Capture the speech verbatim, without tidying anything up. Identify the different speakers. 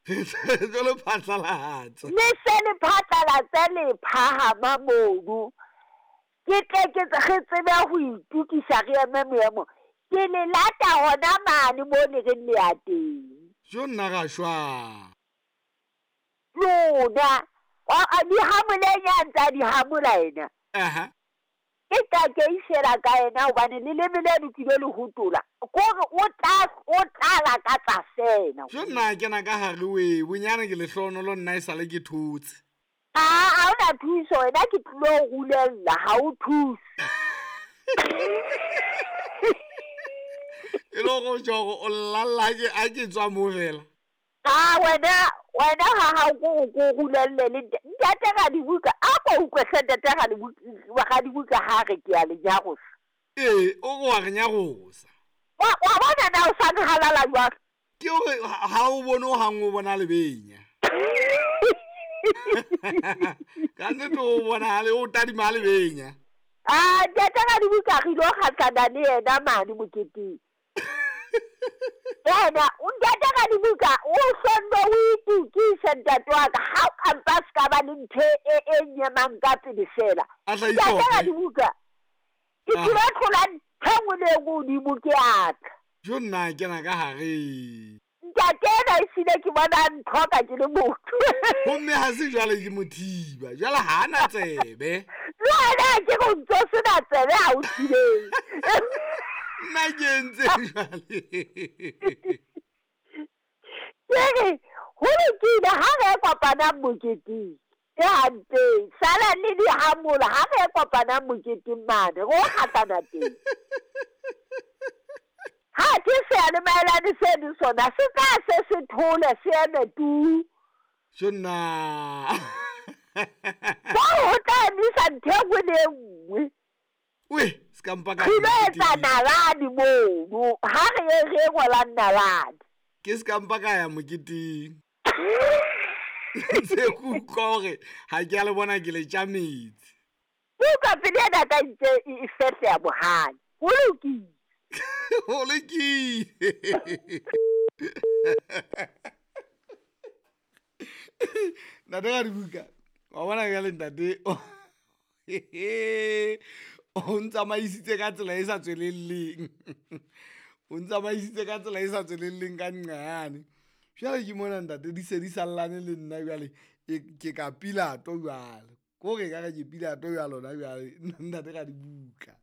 Speaker 1: Re tlo le phatlalatsa.
Speaker 2: Le se le phatlalatse le phahama mono. Ke tle ke re tsebe ho itokisa re eme moemo. Ke le lata hona mane mo le reng le ya teng.
Speaker 1: Jo nna ra shwa.
Speaker 2: Lona, di hamoleng ya ntsa di hamola ena.
Speaker 1: Aha.
Speaker 2: Ke tla ke isela ka yena hobane leleme le lokile le hotola. Kore o tla o tla lakatsa fela.
Speaker 1: Jo nna kena ka hare we, bonyane ke lehlohonolo nna e sale ke thotse.
Speaker 2: A ha ona thuso wena ke tlilo rulella ha o thuse.
Speaker 1: E le hore o tjho hore o llalla ke a ke tswa moo fela.
Speaker 2: A wena wena ha ha ko ko rulelle le ntate Radibuka a ko utlwe hle ntate Radibuka Radibuka ha re ke a le nyarosa.
Speaker 1: Ee, o re wa re nyarosa.
Speaker 2: Wa wa bona na o sa nhalala jwang?
Speaker 1: Ke hore ha o bone o hang o bona lebenya. Ka nnete o bona le o tadima lebenya.
Speaker 2: Ah, ntate Radibuka re ilo kgahlana le yena mane moketeng. Yena o ntate Radibuka o sonno o itukise ntate wa ka ha o ka mpa se ka ba le ntho e e nyemang ka pele fela.
Speaker 1: A tla
Speaker 2: Ntate
Speaker 1: itlhoke.
Speaker 2: Radibuka ke
Speaker 1: Ah.
Speaker 2: tlilo tlola ntho e nngwe le e nngwe hodimo ke a tla.
Speaker 1: Jo nna kena ka hare.
Speaker 2: Ntate ena ehlile ke bona a ntlhoka ke le motho.
Speaker 1: Homme ha se jwale ke mothiba, jwale ha ana tsebe.
Speaker 2: Le wena ke re o ntso sena tsebe ha o thibele.
Speaker 1: Nna ke entse jwale.
Speaker 2: Ke re ho lokile ha re kopanang moketeng. Ke hantle. Sala le dihamola ha re kopanang moketeng mane, re o kgahlana teng. Ha ke seyalemaelane seno sona se tla se se thole se eme tu.
Speaker 1: Jo nna.
Speaker 2: Moo ho tla emisa ntho e nngwe le e nngwe.
Speaker 1: We, se ka mpa ka
Speaker 2: Re ilo etsa
Speaker 1: moketeng.
Speaker 2: nalane mono, ha re ye re ngolang nalane.
Speaker 1: Ke se ka mpa ka ya moketeng. Ntse ke utlwa hore ha ke a le bona ke le tja metsi.
Speaker 2: Utlwa pele ena ka ntse e e fehleha bohale. Ho lokile.
Speaker 1: Ho lokile. Ntate Radibuka, wa bona jwale ntate o ntsamaisitse ka tsela e sa tswelelleng. O ntsamaisitse ka tsela e sa tswelelleng ka nqane. Jwale ke mona ntate di se di sallane le nna jwale ke ka Pilato jwale. Kore ekare ke Pilato jwale hona jwale ntate Radibuka.